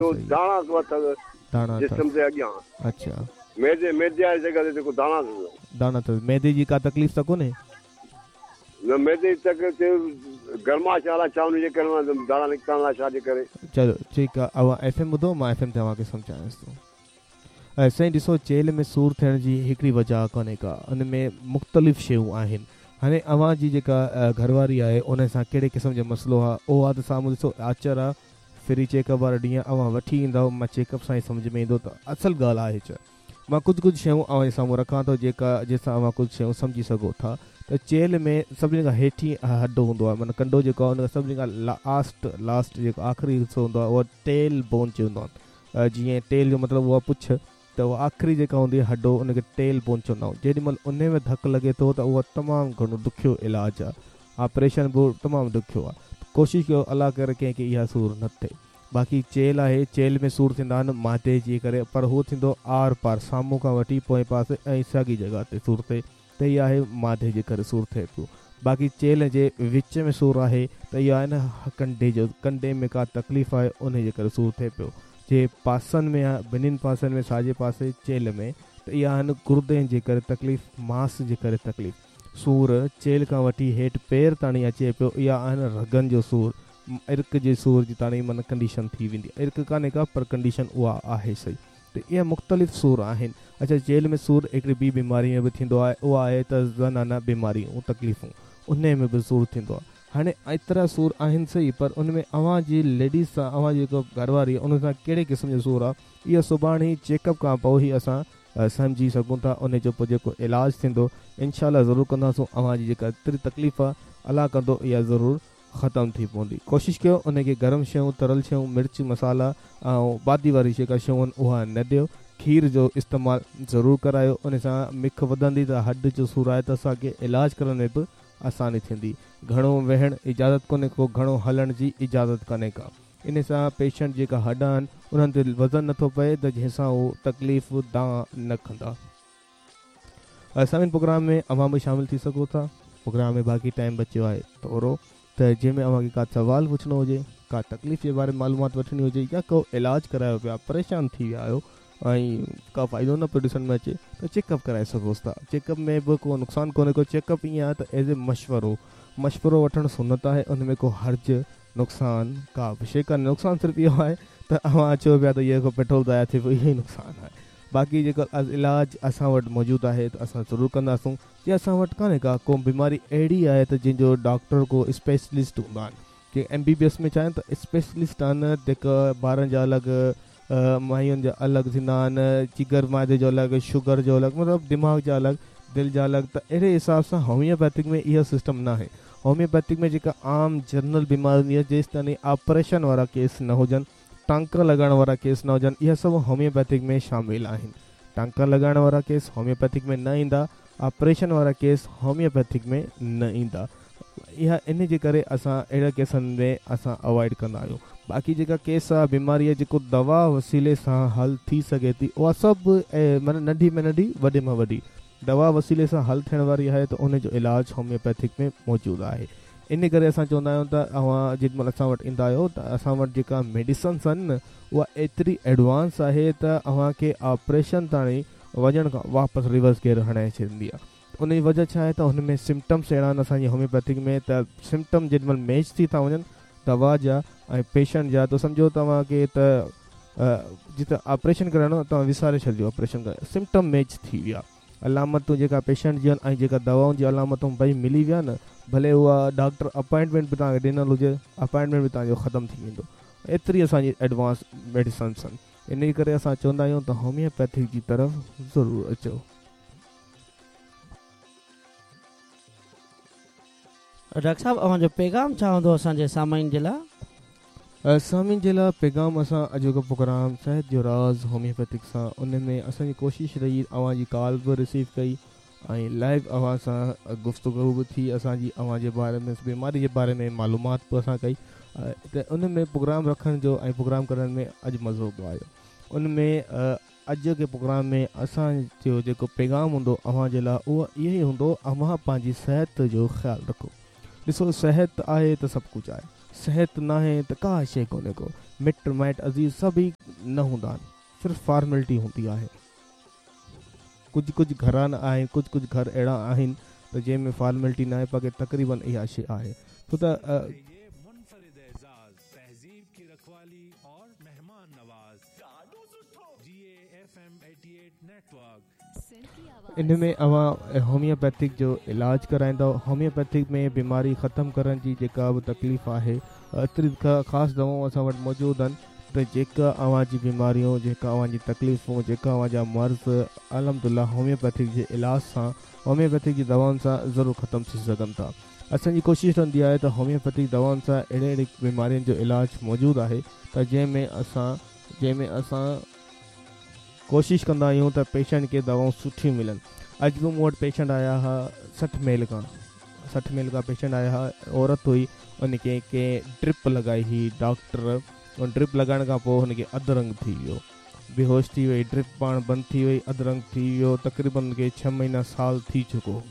جو داڻا اٿس داڻا جسم تي اڳيان. اڇا. معدي معدي واري جڳهه تي جيڪو داڻا اٿس. داڻا اٿس. معدي جي ڪا تڪليف ته ڪونهي؟ نه معدي جي تڪليف ٿئي گرمائش الائي ڇا ان جي ڪري داڻا نڪتا آهن الائي ڇا جي ڪري. چلو ٺيڪ آ اوهان ايف ايم ٻڌو مان ايف ايم تي اوهان کي سمجهايانس ٿو. سائين ڏسو چيلهه ۾ سور ٿيڻ جي هڪڙي وجه ڪونهي ڪا ان ۾ مختلف شيون آهن هاڻي اوهان جي جيڪا گهرواري آهي ان سان ڪهڙي قسم جو مسئلو آ اهو آ ته سامهون ڏسو آچر آ فري چيڪ اپ وارا ڏينهن اوهان وٺي ايندؤ مان چيڪ اپ سان ئي سمجهه ۾ ايندو ته اصل ڳالهه آهي ڇا. مان ڪجهه ڪجهه شيون اوهان جي سامهون رکان ٿو جيڪا جنهن سان اوهان ڪجهه شيون سمجهي سگهو ٿا ته چيلهه ۾ سڀني کان هيٺين هڏ هوندو آهي معنيٰ ڪنڊو جيڪو آهي ان کان سڀني کان لاسٽ Last جيڪو آخري حصو هوندو آهي اهو ٽيل بون چوندو آهن جيئن ٽيل جو مطلب اهو آهي پڇ ته اها آخري جيڪا هوندي آهي هڏو ان کي ٽيل بون چوندا آهيون جيڏي مهل انهي ۾ ڌڪ لڳي ٿو ته اهو تمام گهڻو ڏکيو علاج آهي آپريشن به تمام ڏکيو آهي ڪوشش ڪيو الله ڪري ڪنهن کي اها سور نه ٿئي باقي چيلهه آهي چيلهه ۾ سور ٿيندا آهن معدي جي ڪري پر هو ٿيندو آر پار سامهون کان وٺي پوئين پاسي ۽ ساڳي جڳهه تي سور ٿئي ته اها آهي معدي جي ڪري سور ٿئي پيو. باقي چيلهه جي وچ ۾ سور آهي ته اها آهي نه ڪنڊي جو ڪنڊي ۾ ڪا تڪليف آهي انهي جي ڪري سور ٿئي پيو. جي پاسن ۾ آهي ٻنهين پاسن ۾ ساڄي پاسي چيلهه ۾ ته اها آهن گردن جي ڪري تڪليف ماس جي ڪري تڪليف. سور چيلهه کان وٺي هيٺ پير تاڻي اچي پيو اها آهي نه رڳن جو سور عرق جي سور جي تاڻي معنيٰ ڪنڊيشن ٿي ويندي عرق ڪانهي ڪا پر ڪنڊيشن اها آهي صحيح. ته اهي مختلف سور آهن. اڇا چيلهه ۾ سور هڪڙي ٻي بيماري ۾ به ٿيندو آهي اها آهي ته زنانه بيماريون تڪليفون انهي ۾ به سور ٿيندو آهي. هاڻي ايترا سور آهن سهي پر ان ۾ اوهان جي ليڊيز سان اوهان جي جيڪا گهر واري آهي ان سان ڪهڙي قسم جو سور آهي اهو سڀاڻي چيڪ اپ کان پوء ئي اسان سمجهي سگهون ٿا انهي جو پوء جيڪو علاج ٿيندو انشاء الله ضرور ڪنداسون اوهان جي جيڪا ايتري تڪليف آهي الله ڪندو اها ضرور ختم ٿي پوندي. ڪوشش ڪيو ان کي گرم شيون، تريل شيون، مرچ مصالحا ۽ بادي واري جيڪا شيون آهن اها نه ڏيو. کير جو استعمال ضرور ڪرايو ان سان مک وڌندي ته هڏ جو سور آهي ته اسان کي علاج ڪرڻ ۾ به آساني ٿيندي. گهڻو ويهڻ اجازت ڪونهي ڪو گهڻو هلڻ جي اجازت ڪانهي ڪا. ان سان پيشنٽ جيڪا هڏ آهن انهن تي وزن نٿو پئي ته جنهن سان هو تڪليف دانهن نه ڪندا. سامعين پروگرام ۾ اوهان به شامل ٿي سگهو ٿا پروگرام ۾ باقي ٽائيم بچيو آهي ٿورو ته جنهن ۾ اوهان کي ڪا سوال پڇڻو هجي ڪا تڪليف جي باري ۾ معلومات وٺڻي هجي يا ڪو علاج ڪرايو پيا پريشان ٿي ويا آهيو ۽ ڪا فائدو نه پيو ڏسڻ ۾ اچي ته چيڪ اپ ڪرائي سگهو ٿا چيڪ اپ ۾ به ڪو نقصان ڪونهي ڪو چيڪ اپ ائين آهي ته ايز اي مشورو مشورو وٺڻ سنت آهي ان ۾ ڪو حرج نقصان ڪا به شيء ڪانهي نقصان صرف اهو آهي ته اوهان اچو پيا ته اهو ڪو پيٽرول ضايع ٿئي پيو اهو ئي نقصان آهي باقي جيڪو علاج اسان وٽ موجود آهي ته اسان ضرور ڪنداسون جي اسان وٽ ڪانهي ڪا ڪو بيماري اهڙي آهي ته جنهن جو ڊاڪٽر ڪو اسپيشلسٽ هوندا آهن جي ايم بي بي ايس ۾ ڇا آهن ته اسپيشلسٽ آهن جيڪا ٻارن جا الڳ ماين جا الڳ ٿيندا آهن جگر معدي جو الڳ شگر جو الڳ مطلب دماغ جا الڳ دل جا الڳ ته اهڙي حساب سان هوميوپيٿڪ ۾ اهو سسٽم ناهي هوميوپيٿڪ ۾ جيڪا عام جنرل بيماري هوندي آهي جيستائين آپريشن وارا ڪيس نه هجن ٽانڪا لڳائڻ وارا ڪيس نه هجن اها سڀ هوميوپيٿڪ ۾ شامل آهن. ٽانڪا لڳائڻ وارا ڪيس هوميوپيٿڪ ۾ نه ايندا، آپريشن وارا ڪيس هوميوپيٿڪ ۾ نه ايندا. اها ان جي ڪري اسان اهڙا ڪيسن ۾ اسان اوائڊ ڪندا آهيون. باقي جيڪا ڪيس آ بيماري آ جيڪو دوا وسيلي سان حل ٿي سگهي ٿي اها سڀ معنيٰ ننڍي ۾ ننڍي وڏي مان وڏي دوا وسيلي سان حل ٿيڻ واري آهي ته ان جو علاج هوميوپيٿڪ ۾ موجود آهي. ان ڪري اسان چوندا آهيون ته اوهان جيڏي مهل اسان وٽ ايندا آهيو ته اسان وٽ جيڪا ميڊيسنس آهن نه اها ايتري ايڊوانس آهي ته اوهان کي آپريشن تاڻي وڃڻ کان واپس ريورس گيئر هڻائي ڇڏيندي آهي ان جي وجه ڇا آهي ته هن ۾ سمپٽمس اهڙا آهن اسان جي هوميوپيٿڪ ۾ ته سمپٽم جيڏي مهل ميچ ٿي ٿا وڃن دوا جا ۽ پيشنٽ جا ته سمجهو توهان کي ته جتي آپريشن ڪرائڻو توهان وساري ڇڏجو آپريشن ڪرائڻ سمپٽم ميچ ٿي ويا علامتون جيڪا پيشنٽ جون آهن ۽ جيڪا دوائن جون علامتون ٻئي ملي ويا نه ڀلي اها ڊاڪٽر اپائنٽمينٽ به توهان کي ڏنل هجي اپائنٽمينٽ به توهان جو ختم ٿي ويندو ايتري اسان جي ايڊوانس ميڊيسنس آهن انهي ڪري اسان چوندا آهيون ته هوميوپيٿڪ جي طرف ضرور اچو. ڊاڪٽر صاحب اوهان جو پيغام ڇا هوندو اسان جي سامعين جي لاء؟ سامعين جي لاء پيغام اسان اڄوڪو پروگرام صحت جو راز هوميوپيٿڪ سان ان ۾ اسان جي ڪوشش رهي اوهان جي ڪال به رسيو ڪئي ۽ لائيو اوهان سان گفتگو به ٿي اسان جي اوهان جي باري ۾ بيماري جي باري ۾ معلومات به اسان ڪئي ته ان ۾ پروگرام رکڻ جو ۽ پروگرام ڪرڻ ۾ اڄ مزو به آيو ان ۾ اڄوڪي پروگرام ۾ اسان جو جيڪو پيغام هوندو اوهان جي لاء اهو اهو ئي هوندو اوهان پنهنجي صحت جو خيال رکو. ڏسو صحت آهي ته سڀ ڪجهه آهي. صحت ناهي ته ڪا شيء ڪونهي ڪو. مٽ مائٽ عزيز سڀ ئي نه هوندا آهن. صرف فارملٽي هوندي آهي. ڪجهه ڪجهه گهرانا آهن ڪجهه ڪجهه گهر اهڙا آهن ته جنهن ۾ فارملٽي ناهي باقي تقريبن اها شيء آهي ڇو ته. ان ۾ اوهان هوميوپيٿڪ جو علاج ڪرائيندؤ. هوميوپيٿڪ ۾ بيماري ختم ڪرڻ جي جيڪا به تڪليف آهي ايتري خاص دوائون اسان وٽ موجود آهن ته جيڪا اوهان جي بيماريون جيڪا اوهان جي تڪليفون جيڪا اوهان جا مرض الحمدلله هوميوپيٿڪ جي علاج سان هوميوپيٿڪ جي دوائن سان ضرور ختم ٿي سگهن ٿا. اسان جي ڪوشش رهندي آهي ته هوميوپيٿڪ دوائن سان اهڙي اهڙي بيمارين جو علاج موجود آهي ته جنهن ۾ اسان جنهن ۾ اسان ڪوشش ڪندا آهيون ته پيشنٽ کي دوائون سٺيون ملن اڄ به مون وٽ پيشنٽ آيا ها 60 ميل کان 60 ميل کان پيشنٽ آيا ها عورت هئي ان کي ڪنهن ڊرپ لڳائي هئي ڊاڪٽر ان ڊرپ لڳائڻ کان پوء هن کي اڌ رنگ ٿي ويو بيهوش ٿي وئي ڊرپ پاڻ بند ٿي وئي اڌ رنگ ٿي ويو تقريبن ان کي 6 مهينا سال ٿي چڪو هو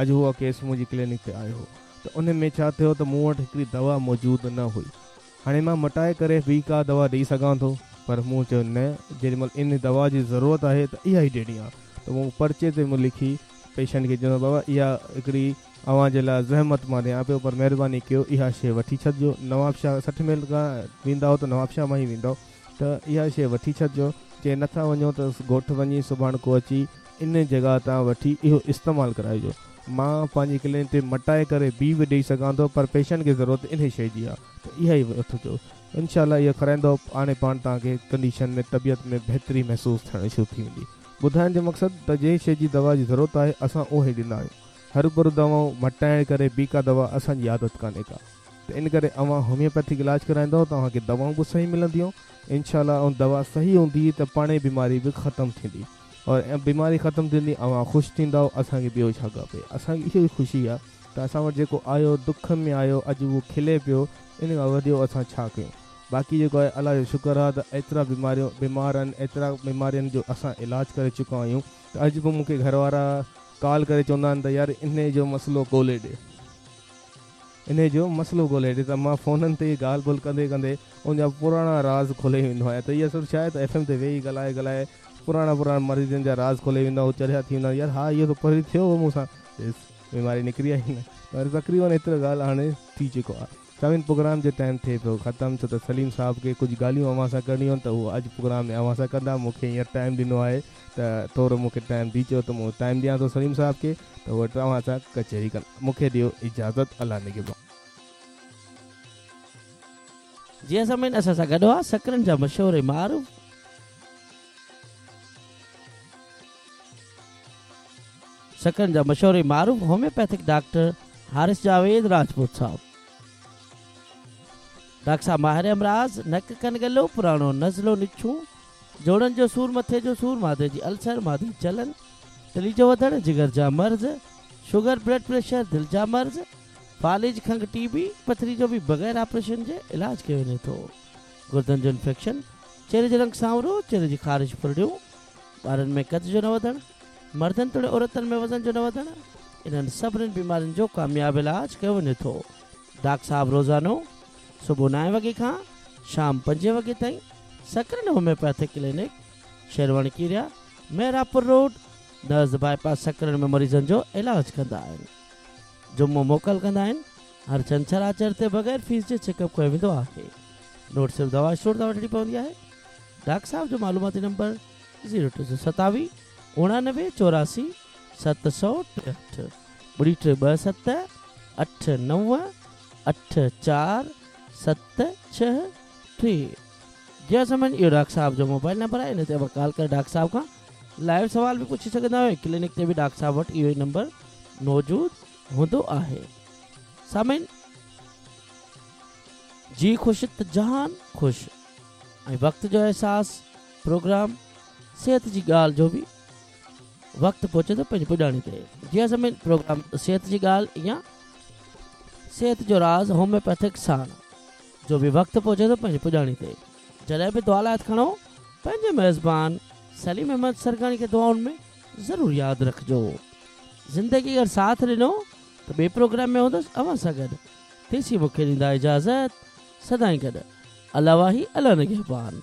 اڄ اهو ڪيس منهنجي ڪلينڪ تي آيو هو ته ان ۾ ڇا ٿيو ته مون وٽ هڪڙي دوا موجود نه هئي هاڻي مان مٽائي ڪري ٻي ڪا دوا ڏئي سگهان ٿو، پر مون چيو نه، جيڏي مهل ان دوا جي ضرورت آهي ته اها ئي ڏيڻي آهي ته مون پرچي تي مون لکي پيشنٽ کي چيو بابا اها هڪڙي اوهان جي لاء زحمت مان ڏيان پيو پر مهرباني ڪيو اها شيء وٺي ڇڏجو نوابشاهه 60 ميل کان ويندؤ ته نوابشاهه مان ئي ويندؤ ته اها شيء وٺي ڇڏجو جي نٿا وڃو ته ڳوٺ وڃي سڀاڻڪو اچي ان جڳهه تان وٺي اهو استعمال ڪرائجو. مان پنهنجي ڪلينڪ تي مٽائي ڪري ٻي به ڏئي سگهان ٿو پر پيشنٽ کي ضرورت انهي شيء جي آهي ته اها ئي وٺجو. انشاء الله اهو کارائيندؤ پاڻهي پاڻ توهان کي ڪنڊيشن ۾ طبيعت ۾ بهتري محسوس ٿيڻ شروع ٿي ويندي. ٻڌائڻ جو مقصد ته جنهن شيء جي دوا جي ضرورت آهي اسان اهو ئي ڏيندا آهيون. هروڀرو دوائون مٽائڻ ڪري ٻي ڪا دوا اسان جي عادت ڪانهي ڪا ته ان ڪري اوهان هوميوپيٿڪ علاج ڪرائيندؤ ته اوهان کي دوائون به صحيح ملنديون انشاء الله ۽ دوا صحيح هوندي ته پاڻهي بيماري به ختم ٿيندي اور بيماري ختم ٿيندي اوهان خوش ٿيندؤ اسان کي ٻيو ڇا کپي اسان کي اهو ئي خوشي آ ته اسان وٽ جيڪو آيو دک ۾ آيو اڄ اهو کلي پيو ان کان وڌيو اسان ڇا ڪيون باقي جيڪو آهي الله جو شڪر آ ته ايترا بيماريون بيمار آهن ايترا بيمارين جو اسان علاج ڪري چڪا آهيون ته اڄ به مون کي گهر وارا ڪال ڪري چوندا آهن ته يار انهي جو مسئلو ڳولي ڏي انهي جو مسئلو ڳولي ڏي ته مان فونن تي ئي ڳالهه ٻولهه ڪندي ڪندي ان جا پراڻا راز کولي ويندو آهيان ته اهي سڀ ڇا آهي ته ايف ايم تي ويهي ڳالهائي ڳالهائي پراڻا پراڻا مريضن جا راز کولي ويندو آهيان هو چريا ٿي ويندا آهن يار ها اهو ته پهرين ٿيو هو مون سان ڏس بيماري نڪري آئي نه ته تقريبن ايترو ڳالهه هاڻي ٿي چڪو آهي سامعين پروگرام جو ٽائيم ٿئي پيو ختم ڇو ته سليم صاحب کي ڪجهه ڳالهيون اوهان سان ڪرڻيون آهن ته هو اڄ پروگرام ۾ اوهان سان ڪندا مون کي هينئر ٽائيم ڏنو آهي ته ٿورو مون کي ٽائيم ڏئي چيو ته مون ٽائيم ڏيان ٿو سليم صاحب کي ته هو توهان سان ڪچهري ڪن مون کي ڏيو اجازت الله نگهبان. جي سامعين اسان سان گڏ هئا سڪرنڊ جا مشهور ۽ معروف سڪرنڊ جا مشهور ۽ معروف هوميوپيٿڪ ڊاڪٽر حارث جاويد راجپوت صاحب. ڊاڪٽر صاحب ماهر امراض نڪ ڪن ڳلو پراڻو نزلو نڇون جوڙن جو سور مٿي جو سور معدي جي السر معدي جي جلن تلي جو وڌڻ جگر جا مرض شگر بلڊ پريشر دل جا مرض فالج کنگهه ٽي بي پٿري جو به بغير آپريشن جي علاج ڪيو وڃي ٿو گردن جو انفيڪشن چهري جو رنگ سانورو چهري جي خارش ڦرڙيون ٻارن ۾ قد جو نه وڌڻ مردن توڙي عورتن ۾ وزن جو نه وڌڻ انهن سڀني بيمارين جو ڪامياب علاج ڪيو وڃي ٿو ڊاڪٽر صاحب روزانو صبح نائين وڳي کان شام پنجين وڳي تائين سڪرنڊ هوميوپيٿڪ ڪلينڪ شيروڻ ڪيريا محرابپور روڊ نزد باء پاس سڪرنڊ ۾ مريضن جو علاج ڪندا آهن جمعو موڪل ڪندا آهن هر ڇنڇر آچر تي بغير فيس جي چيڪ اپ ڪيو ويندو آهي نوٽ صرف دوا اسٽور تان وٺڻي پوندي آهي ڊاڪٽر صاحب جو معلوماتي نمبر 0327 89 84 763 ٻڙي ٽي ٻه ست اٺ نو اٺ چار ست ڇهه ٽي جي سامعين اهو ڊاڪٽر صاحب جو موبائل نمبر آهي ان تي اوهان ڪال ڪري ڊاڪٽر صاحب کان لائيو سوال به پڇي سگهندا آهيو ڪلينڪ تي به ڊاڪٽر صاحب وٽ اهو ئي نمبر موجود هوندو آهي سامعين جي خوش ته جهان خوش ۽ وقت جو احساس پروگرام صحت جي ڳالهه جو به وقت پهچي ٿو پنهنجي پڄاڻي تي جي سامعين پروگرام صحت جي ڳالهه يا صحت جو راز هوميوپيٿڪ ساڻ جو به وقت پهچي ٿو پنهنجي پڄاڻي تي جڏهن به دعا لاء هٿ کڻو پنهنجي ميزبان سليم احمد سرگاڻي کي دعائن ۾ ضرور ياد رکجو زندگي اگر ساٿ ڏنو ته ٻئي پروگرام ۾ هوندس اوهان سان گڏ تيسين مون کي ڏيندا اجازت. سدائين گڏ. الله واهي الله نگهبان.